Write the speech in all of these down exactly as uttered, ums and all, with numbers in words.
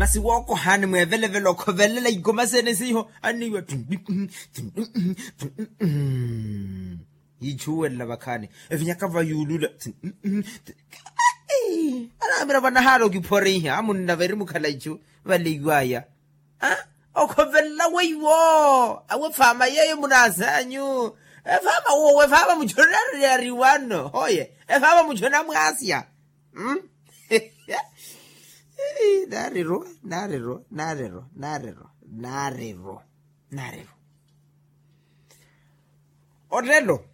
Masi wookohaani mweevelevele okhovelela ikoma sene seiho anniiwa. Yiichuwelela vakhaani evinyaka vayuulula. Anaamira vanahaala okiphoreiha amunna veri mukhala ichu valeiwaya. Okhovelela weiwo awe efaama yeeyo munaasanyu. Efaama wowo efaama muchona yariwano hoye. Efaama muchona mwaasya. Nariro nariro nariro nariro nariro nariro. Olelo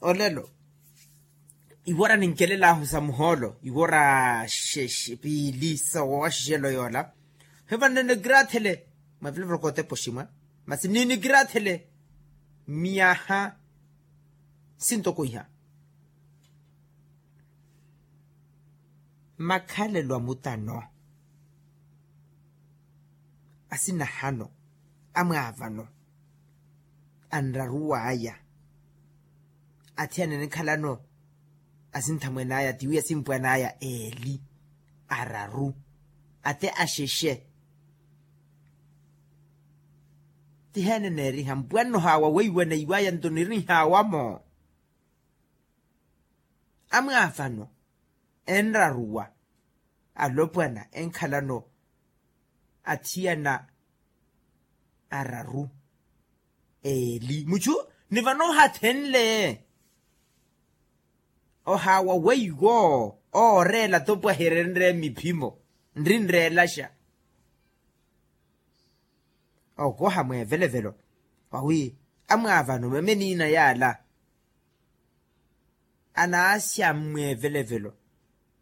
olelo iwora ninkelelaahu sa muhoolo iwora piili sa woowaxixelo yoola. Hiva nninikiraathele mwavilovolo kootepa oximwa masi nninikiraathele myaha sintoko iha. Makhalelo a mutano asinahano amwaavano anraruw'aya athiyana enikhalano asinthamwen'aya tiwi asimpwan'aya eeli araru ate axexe. Tiheene neeriha mpwanno haawa weiwaneiw'aya nto nirihaawamo amwaavano enraruwa alopwana enkhalano athiyana araru eeli muchu ni vano ohathenle ohaawa weiwo ooreela topwahirenre miphimo nrinreelaxa okoha mweevelevelo wawi amwaavano meme niina yaala anaasya mmweevelevelo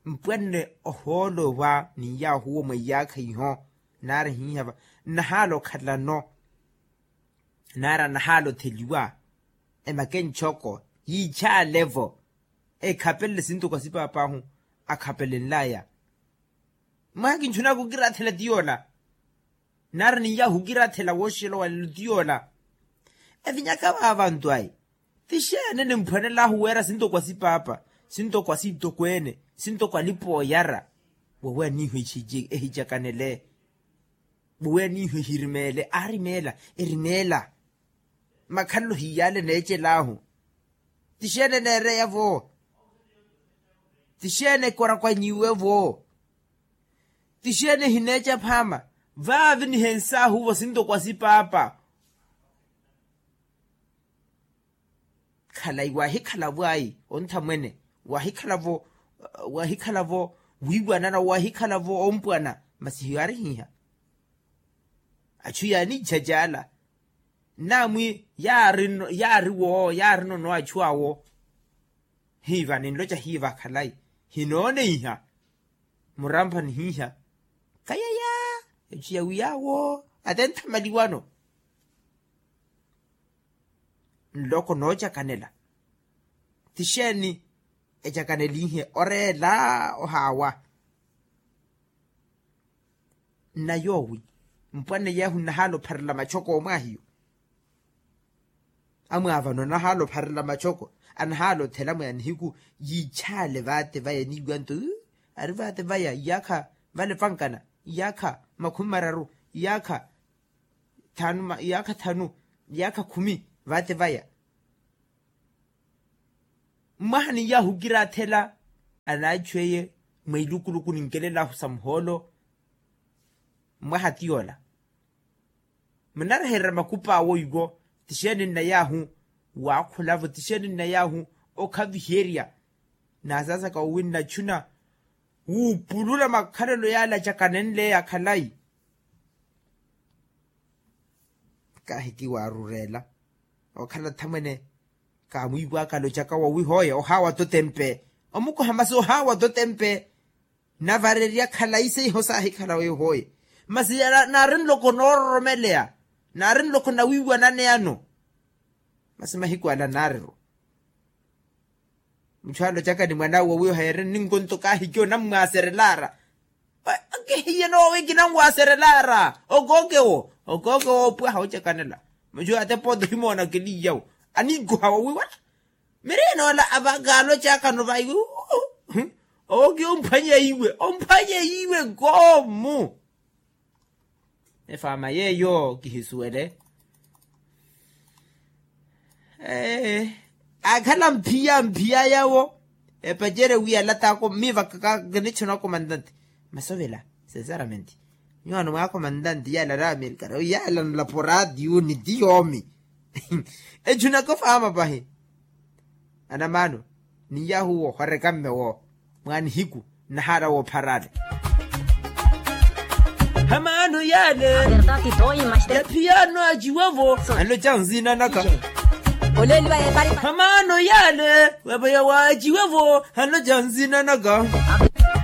mpwanne ohoolo owa ni yaahuwo mwa iyaakha iho naari hiihava nnahaala okhalano naari anahaala otheliwa emakenchoko yiichaale-vo ekhapelele sintuku asipaap'ahu akhapelenl'aya mwaha kinchunaka okiraathela ti yoola naari ni yaahu okiraathela wooxela owalelo ti yoola evinyaka vaavantu ayi ti xeene nimphwanel'ahu weera sintoko asipaapa sintoko asiitokweene sintoko alipa oyara wowe aniiho ehicakanele wowe aniiho ehirimeele aarimeela erimeela makhalelo hiyaale neecel'ahu ti xeene neereya-vo ti xeene ekorakwanyiwe-vo ti xeene ehineeca phaama vaavi nihensaahu-vo sintoko asipaapa khalayi waahikhala-vo ayi onthamwene waahikhala-vo waahikhala-vo wiiwanana waahikhala-vo ompwana masi hiyo aarihiiha achu yaaniijajaala nnaamwi yaari woo yaari nono achu awo hiiva ninloca hiiva khalayi hinooneiha murampha nihiiha kayaya echu yawiyaawo ate nthamaliwano nloko noocakanela ti xeeni ecakaneliihe oreela ohaawa nna yoowi mpwanne yeehu nnahaala opharela machoko omwaahiyo amwaavano anahaala opharela machoko anahaala othela mwa nihiku yiichaale vaate vaya niiwanto ari vaate vaya iyaakha vale vankana iyaakha makhumi mararu iyaakha thanu iyaakha thanu iyaakha khumi vaate vaya mmwaha ni yaahu okiraathela anaachu eye mwa ilukuluku ninkelel'ahu sa muhoolo mmwaha ti yoola munarehererya makupa awo iwo ti xeeni nna yaahu waakhula-vo ti xeeni nna yaahu okhaviherya naasaasaka wowi nnachuna wuupulula makhalelo yaale acakanenleya khalayi kaahiki waarureela okhala thamwene kaamwiiwaka alocaka wowi hooye ohaawa totempe omukoha masi ohaawa totempe navarerya khalayi seiho saahikhala weyo hooye masi naari nloko noororomeleya naari nloko nawiiwananeyano masi mahiku ala naariro muchu alocaka ni mwan'awe wowiiho yeere nninkonto kaahiki onammwaaserelaara kihiye noowe kinanwaaserelaara okookewo okookewo opwaha ocakanela muchu atepa oti ohimoona keliiyawo aniikoha wowiiwana miriinoola avakaalo caakano vayi owo ki omphwanye iwe omphwanye iwe koomu Efaama yeeyo kihisuwele. Akhala mphiya mphiya yawo. Epacerye wi alataako miivaka kinichuna akomantante. Masovela. Sinceramente, nyuwaano mwaakomantante yaala ari amerikana yaala nlapo raatiyo ni ti yoomi. Echunaka ofaama pahi. Anamaano, ni yaahu woohoreka mmewo mwa nihiku nnahaara woopharaale. Hamaano yaale yaphiyaano aciwevo haloca nzina naka. Hamaano yaale wapaya waaciwevo haloca nzina naka.